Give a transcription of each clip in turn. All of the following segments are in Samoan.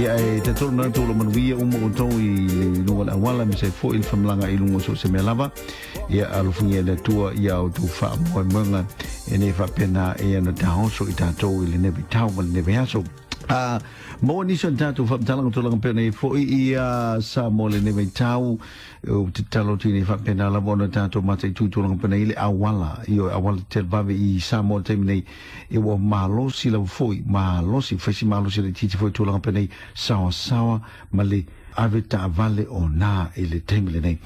Ia e tatolu na tolu manuia uma outou i le luga o le auala ma se fo'i le faamalagaa'i i luga o so o se mea lava. Ia alofagia e le Atua ia outou faamoemoega e nei faapena ia na taoso i tatou i lenei vaitau ma lenei vaiaso. A maua nisi o tatou faamatalaga tulaga pei ona i ai foi ia Samoa i lenei vaitau, ou te tatalo atu nei faapena lava ona tatou mataitu i tulaga pei ona i ai le auala, ioe, auala televave i Samoa i le taimi nei, e ua malosi lava foi, malosi, fai si malosi laitiiti foi i tulaga pei ona i ai, saoasaoa ma le ave taavale o na i le taimi lenei.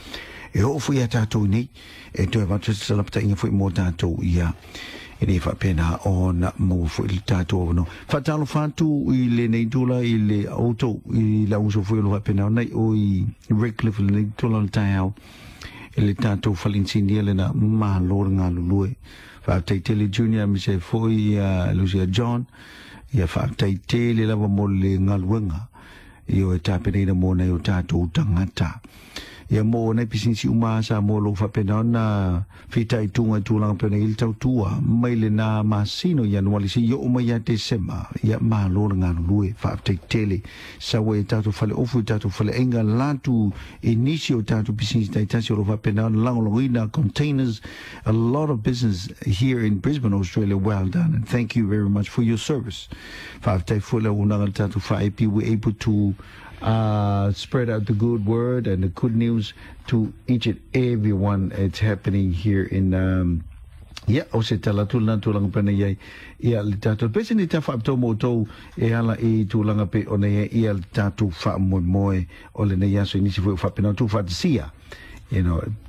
E oo foi ia tatou i nei, e toe avatu se salapataiga foi mo tatou ia, e nei faapena ona maua foi le tatou avanoa. Faatalofa atu i lenei tula i le outou, i le auuso foi o lo faapena ona i o i Redcliffe i lenei tula o le taeao, i le tatou fale inisinia lena, malo le galulue. Faafetai tele Junior aemaise ai foi ia Lucia John, ia faafetai tele lava mo le galuega ioe tapenaina mo nai o tatou tagata. Ia mo nai pisinisi uma a Samoa o lo o faapena ona fitaituga i tulaga pei ona i ai le tautua mai lena masina o Ianuali seia oo mai ia Tesema. Ia malo le galulue, faafetai tele. Sau ai e tatou faleofu i tatou faleaiga latu i nisi o tatou pisinisi taitasi o lo o faapena ona lagolagoina containers, a lot of business here in Brisbane, Australia. Well done and thank you very much for your service. Faafetai foi le auaunaga i le tatou faaepi, we able to spread out the good word and the good news to each and everyone. It's happening here in ia, o se tala atu lena tulaga pei ona i ai ia le tatou pese ni ta faapitoa mo outou e ala i tulaga pei ona i ai ia le tatou faamoemoe o lenei aso i nisi foi o faapena ona tuufaatasia,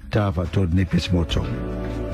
ta faatoa lenei pese mo outou.